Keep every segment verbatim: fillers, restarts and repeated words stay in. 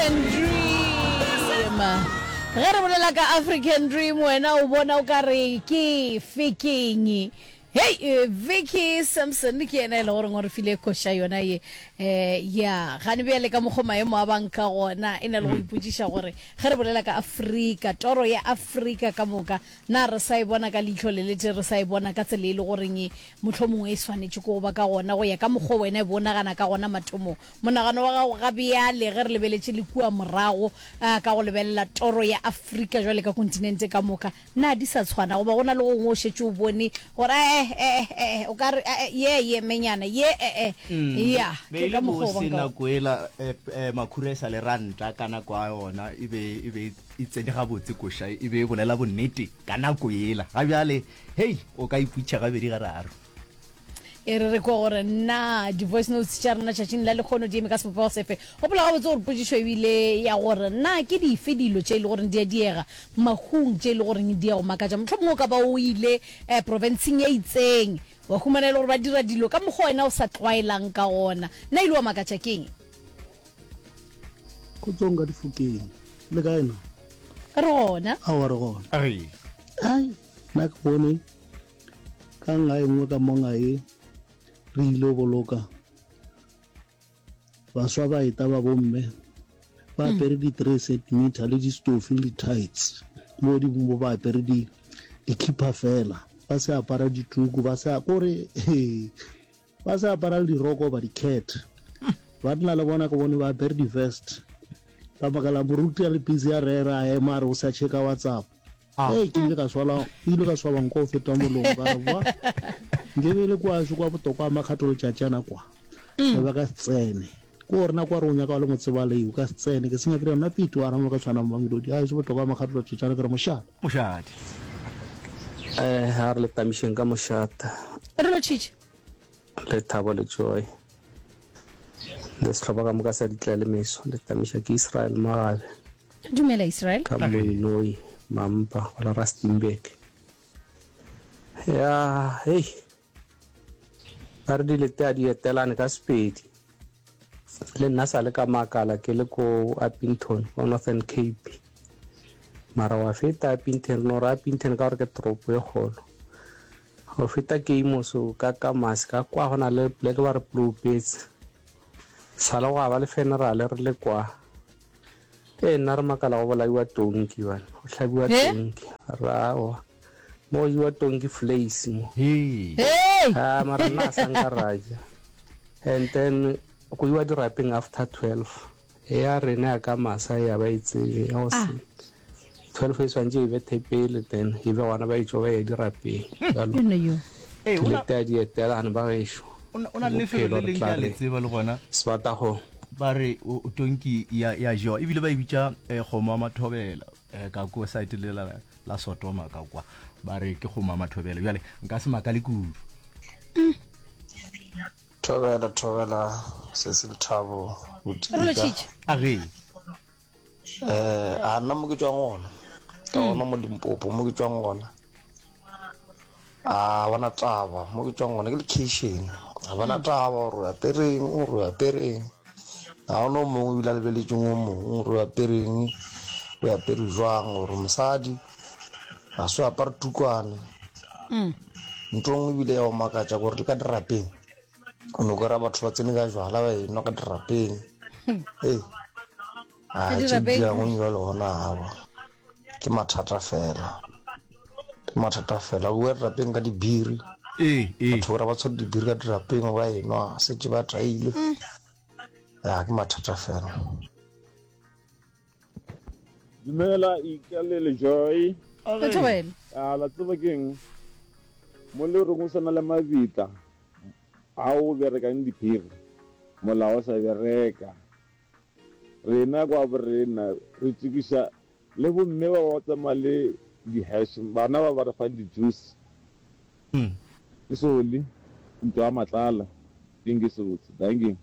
African Dream. Ge re bolela ka African Dream wena o bona o ka re ke fekeng. Hey, eh, Vicky Sampson ke yena e le goreng o re file koša yona ye eh ya gane bjale ka mokgwa maemo a bang ka gona e na le go ipotšiša gore ge re bolela ka Afrika toro ya Afrika ka moka na re sa e bona ka leihlo le lete re sa e bona ka tsela e le goreng e mohlomongwe e swanetše ko go ba ka gona go ya ka mokgwa wena e bonagana ka gona mathomong monagano wa gago ga bjale ge re lebeletše le kua morago ah, ka go lebelela toro ya Afrika jwale ka kontinente ka moka na di sa tshwana goba go na le gongwe o šetše o bone gore eh eh eh o ka re eh, eh, ye ye menyana ye eh eh ya be ke e ka le mokgwa o bose bang ka nako ela eh, eh, makhura e sa le ranta ka nako ya yona e be e be e tsene gabotse koša e be e bolela bonnete ka nako ela ga bjale hei o ka iputšha gabedi gararo e re re kwa gore na di-voice notes tša rena tšatšing la lekgono di eme ka sebopego sefe gopola gabotse gore potšišo ebile ya gore na ke dife dilo tše e le goreng di a diega mahung tše e le goreng di a go makatša mohlomongwe o ka ba o ile um provinceng e itseng wa humana e le gore ba dira dilo ka mokgwa wena o sa tlwaelang ka gona nna ile wa makatša keng Kgotsong ka difokeng le kae na re gona aowa re gona Ai. Ai, nna ke bone ka nga e nngwe ka mo ngae re ile boloka baswa ba eta ba bomme ba apere di-three centimeter le di-stofi le di-tights mo di mo ba apere di dikhipa fela ba se apara dituku ba se kore ba se apara le diroko ba di-cat banna le bona ke bone ba apere di-vest ka baka la moruti a le busy a rera a ema a re o sa checka whatsapp ee ke ile ka swala ke ile ka swaba nko go feta molomo ka re boa nke be le kwa kwa botokwa a makgatho letšatšana kwa ba ba ka se tsene ko gore nako a re o nyaka wa le motsebalei o ka se tsene ke senya ke re nna pete wa ramo ka tshwana mamelodi a se botlokwa a makgatho letšatšana ke re mošate mošate Eh, a re le tamišeng ka mošata re lo tšhitše le thabo le joy le sehlopha ka moka sa ditla le meso le tamiša ke Israel Magabe dumela Israel ka Moinoi Mampa go la Rustenburg ya hei ba re dilete a di etelane ka sepedi le nna sa le ka makala ke le ko Upington ko Northern Cape mara wa feta Upington no re Upington ka gore ke toropo e kgolo go feta Keimoso ka Kamasi ka kwa go na le poleke ba re Ploupetse sala go ba le funeral re le kwa ee nna re makala go bolaiwa tonki bana go hlabiwa He? tonki rawa mo go jewa tonki flace mo hei hey ah mara nna a sa nka ra ja and then go iwa dirapeng after twelve ya rena ya ka masa ya ba e tsebe ya go Ah. se twelve e swantše e bethe pele then e be gona ba etšwa ba ya dirapeng jalo yona yo ee o na- dilete a di etelane ba gešo o na- o na le lefelo bophelo le re leng ke tla a le re tseba le gona sebatago ba re o- o tonki ya ya jewa ebile ba e bitša eh, kgomo ya mathobela eh, ka ko site le la, la sotoma ka kwa ba re ke kgomo ya mathobela bjale nka se makale kudu Thobela thobela se se Lethabo re lo Botika tšhitše a ge eh a nna mo ke tswang gona ka gona mo Limpopo mo ke tswang gona a bona taba mo ke tswang gona ke location a bona taba gore o apereng gore o apereng ga gona o mongwe ebile a lebeletseng o mongwe gore o apereng o apere jwang gore mosadi ga se o apare tukwane Mm. ntho e nngwe ebile ya go makatša gore le ka dirapeng o no kry-a batho ba tsene ka jwala ba enwa ka dirapeng ee Ka a tše dirapeng? diangwe jalo gona awa ke mathata fela ke mathata fela o bua dirapeng ka dibiri ee ee batho ba ba tshwere dibiri ka dirapeng ba enwa setse ba taile ya ke mathata fela Dumela Ika le Joy. Re thobela A la tseba keng mo le reng o sana le mabitla a o berekang diphiri molao o sa bereka rena kwa borena re tsekiša le bomme ba ba tsamaya le di-hash bana ba ba re fang di-juice Mm. ke sole ntlo ya matlala keng ke sebotse dankie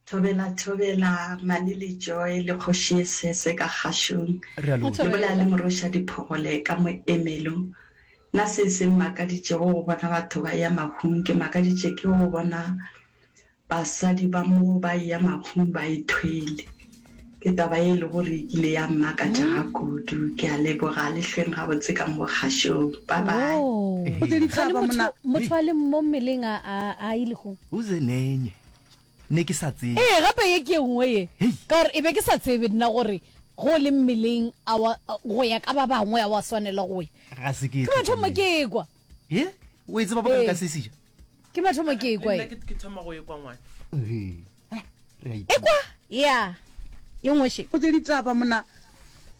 Thobela thobela Mane le Joy le kgoši e sese ka kgašong. re a Re lotšha Le bolela le thobela moroša diphogole ka moemelo. Nna se se mmakaditšego go bona batho ba ya mahung ke makaditše ke go bona basadi ba mo ba ya mahung ba ithwele. Ke taba ye e le gore e kile ya mmakatša ga kudu. Ke a leboga, le hlweng gabotse ka mo kgašong. Bye bye. Oh. Go tše Gane ditaba motho mona. motho a le mo mmeleng a a a ile go. Uze nenye. Ne ke sa tsebe. Ee, gape ye ke ye nngwe ye. Hei. Ka gore e be ke sa tsebe nna gore go le mmeleng a wa go ya ka ba bangwe a wa swanela go ya. Ga se ke e Ke mathomo tlhokomele. ke ekwa. Ye? O e tseba bokang Ee. ka se seja? Ke mathomo ke Le ekwa nna ye. ke ke thoma go ekwa ngwana. Ee. Re a ithuta. Ekwa? Ya. Ye nngwe še. Go tše ditaba mona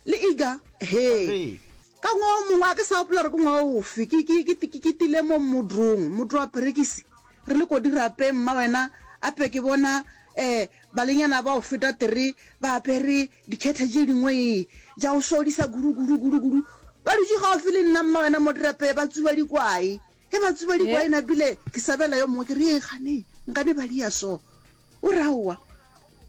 le Iga. Hee. Ee. Ka ngwaga o mongwe, a ke sa gopola gore ke ngwaga ofe, ke, ke, ke, ke, ke tile mo modrong, modro wa perekisi, re le ko dirapeng, mma wena, ape ke bona, eh, balenyana ba go feta three ba apere dikhethe tše dingwe, ee, tša go sodisa kudu, kudu, kudu, kudu. Ba dutše gaufi le nna, mma wena, mo dirapeng, ba tsuba dikwae. Ge ba tsuba dikwae, napile ke sabela yo mongwe, ke re, Ee, kgane, nkane ba dia so? O re, Aowa,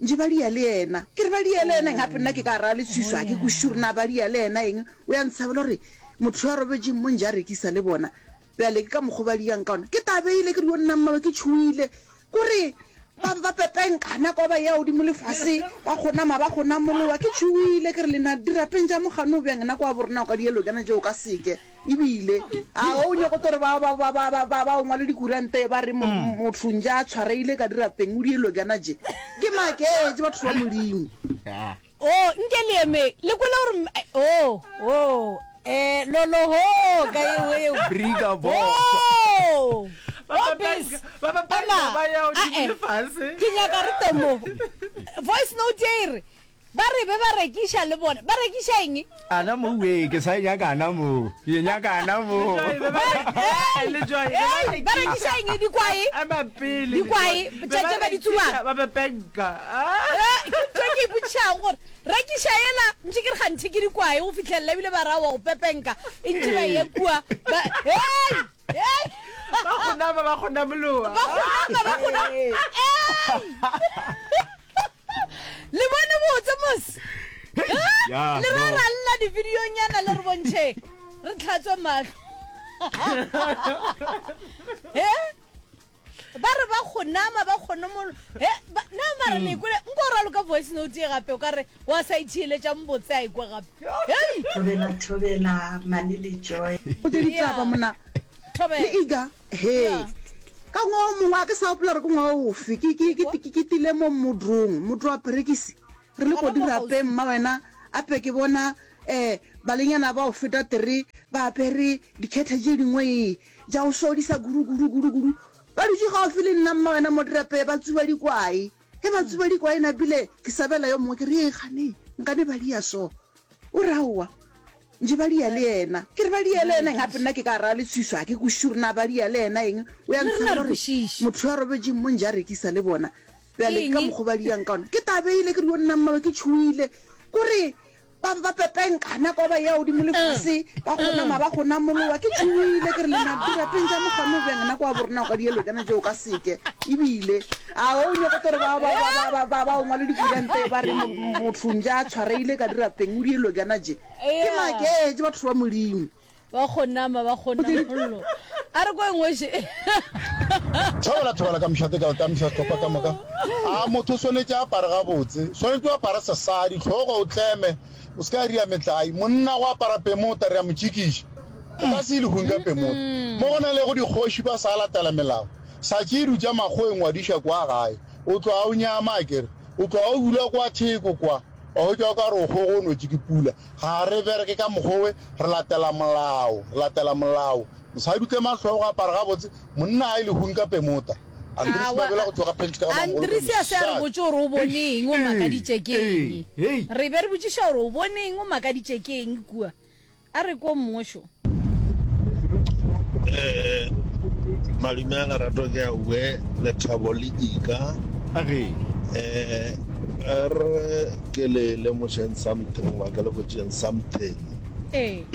nje ba dia le yena. Ke re, Ba dia le yena eng? Gape nna ke ka ra leswiswi, ga ke kwešiše gore na ba dia le yena eng. O ya ntshabela gore motho yo a robetšeng mo nje a rekisa le bona. Bjale ke ka mokgwa o ba diang ka ona. Ke tabeile, ke re, Yo nna mmawe, ke tšhohile. Ko re, ba ba pepenka, nako ba eya godimo le fase, ba kgonama, ba kgonamolowa. Ke tšhohile, ke re, Lena dirapeng tša mogano bjang? Nako ya borena o ka dielo tšana tšeo ka seke. Ebile a o nyoko tlo re ba, ba, ba, ba, ba, ba, ba o ngwale dikuranta ba re mo, motho nje a tshwareile ka dirapeng o dielo tšana tše. Ke maketše batho ba Modimo. Oh, nke le eme, le kwele gore m-, oh, oh, eh, lolo ho, ka yeo, yeo. Briga bo. Oh, Ba oh, ba bis. ba ba Ema, ba ya godimo ah, eh. le fase. Ke nyaka re te mo. Voice note ye e re, Ba re be ba rekiša le bona. Ba rekiša eng? Ana mo we, ke sa e nyaka ana mo. Ke e nyaka ana mo. Hey, hey, ba rekiša eng? Dikwae? Dikwae, tše tše ba di tsubang. Ba pepenka. Eh, ke ntho e ke ipotšišago gore rekiša yela ntše ke re kganthe ke dikwae go fihlelela ebile ba ra wa go pepenka e ntše ba ye kua. Ba, hey, hey. Ba kgonama, ba kgonamoloa. Ba kgonama, ba kgonama. Hey. Le bone botse mos. Ya, Le ra no. ra lla di-videonyana le re bontšhe re tlhatswe mahlo. He? Ba re ba kgonama ba kgonomolo. He, ba, na mara le kwele nko raloka voice note ye gape o ka re wa sa itheeletša mbotse a ikwe gape. Hei! Thobela thobela Mane le Joy. Go tše ditaba mona Thobela. le Iga. He. Yeah. Ka ngwaga o mongwe, a ke sa gopola gore ke ngwaga ofe, ke, ke, ke, ke, ke tile mo modrong, modro wa perekisi, re le ko Gona mo dirapeng, kgauswi. mma wena, ape ke bona, eh, balenyana ba go feta three ba apere dikhethe tše dingwe, ee, tša go sodisa kudu, kudu, kudu, kudu. Ba dutše gaufi le nna, mma wena, mo dirapeng, ba tsuba dikwae. Ge ba tsuba dikwae, napile ke sabela yo mongwe, ke re, Ee, kgane, nkane ba dia so? O re, Aowa. Nje ba dia le yena? Ke re ba dia le yena eng? Gape nna ke ka ra leswiswi, ga ke kwešiše gore na ba dia le yena eng. O ya Le rena ntshaba re gore kwešiše. motho yo a robetšeng mo nje a rekisa le bona. Bjale ke ka Eng? mokgwa ba diang ka ona. Ke tabeile, ke re yo nna mmawe ke tšhohile. Kore ba ba pepenka nako ba eya godimo le fase, ba kgonama ba kgonamolowa. Ke tšhohile, ke re lena dirapeng tša mogano bjang nako ya borena o ka dielo tšana tšeo ka seke. Ebile a o nyoko tlo re ba, ba, ba, ba, ba, ba, ba o ngwale dikuranta ba re motho nje a tshwareile ka dirapeng o dielo tšana tše. Ke maketše batho ba Modimo. Ba kgonama, ba kgonamollo. A re ko engwe še. Thobela thobela ka mošate ka tamiša sehlopha ka moka. A motho o swanetše a apare gabotse. Swanetše o apare sesadi, hlogo o tleme, o se ka ria metlae. Monna go apara pemota re a mo tšikiša. O ka se ye lehung ka pemota. Mo go na lego dikgoši ba sa latela melao. Sa tše dutša makgoweng wa diša kwa gae. O tloga o nyama akere. O tloga o dula kwa theko kwa. Wa hwetša o ka re o kgogonotše ke pula. Ga re bereke ka mokgowe, re latela molao, re latela molao. Mosadi o tlema hlogo, apara gabotse, monna a ye lehung ka pemota. Andries Aowa, Mabela go tšwa ga Pentšhe ka ga Mamogolo Andries a se a re Mosadi. botše gore o bone eng, o makaditše ke eng. Hei! Re be re botšiša gore o bone eng, o makaditše ke eng kua. A re ko mongwe šo. Eh, malume a lerato ke a ue lethabo le ika. Age. Eh, re ke le lemošeng something goba ke le botšeng something. Ee.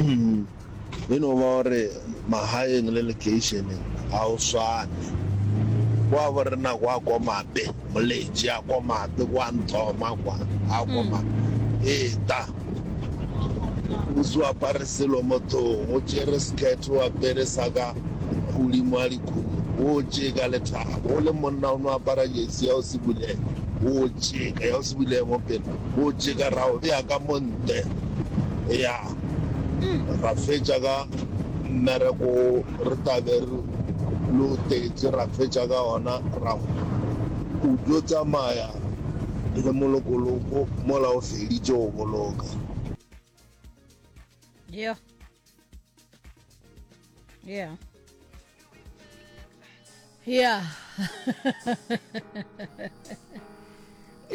E no ba gore magaeng le lekeišeneng ga o swane. Kwa bo rena kwa Komape, Moletši a Komape, kwa Nthoma kwa, a Komape. Eta, o se apare selo mothong, o tšere skirt o apere sa ka godimo ga dikhudu, o tše ka lethabo. O le monna o no apara jersey ya go se bulege. O tšeka, ya o se bile mo pele, o tšeka ra o bea ka mo ntle. Ya, ra fetša ka mmereko wo re tla be re lo tetše, ra fetša ka ona, ra o tlo tsamaya le molokoloko mola o feditše go boloka. Yeah. Yeah. Yeah.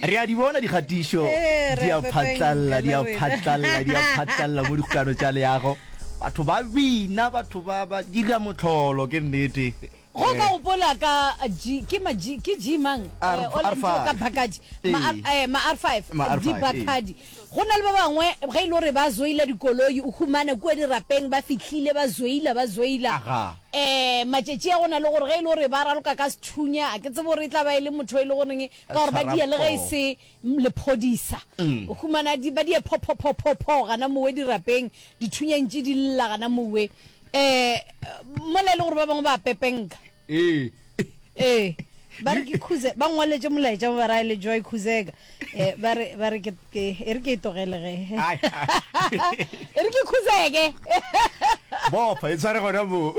Re a di bona dikgatišo Eh, re di a a phatlalla, di a pepenka le rena. phatlalla, di a phatlalla mo dikgokano tša leago. Batho ba bina, batho ba ba dira mohlolo, ke nnete. Go ka gopola ka G, ke ma G, ke G mang? R, Eh, o la R ntšo ka five. Bacardi. Ma R, Ee. eh, ma R five, Ma R di five, ee. Bacardi. Go na le ba bangwe ge e le gore ba zoila dikoloi, o humana kua dirapeng ba fihlile ba zoila, ba zoila. Aga. Eh, matšatši a go na le gore ge e le gore ba raloka ka sethunya, a ke tsebe gore e tla ba e le motho e le goreng ka gore ba Tshwara dia le ge e poo. se lephodisa. Mm. O humana di, ba dia pho pho pho pho pho gana mowe dirapeng, dithunya ntše di lla gana mowe. Eh, mola e le gore ba bangwe ba pepenka. Ee. Ee. Ba re ke Khuze, ba ngwaletše molaetša mo ba ra le Joy Khuzeka. Eh, ba re, ba re ke, ke, e re ke e togele ge. E re ke Khuzeke. Bofa, e tshware gona moo.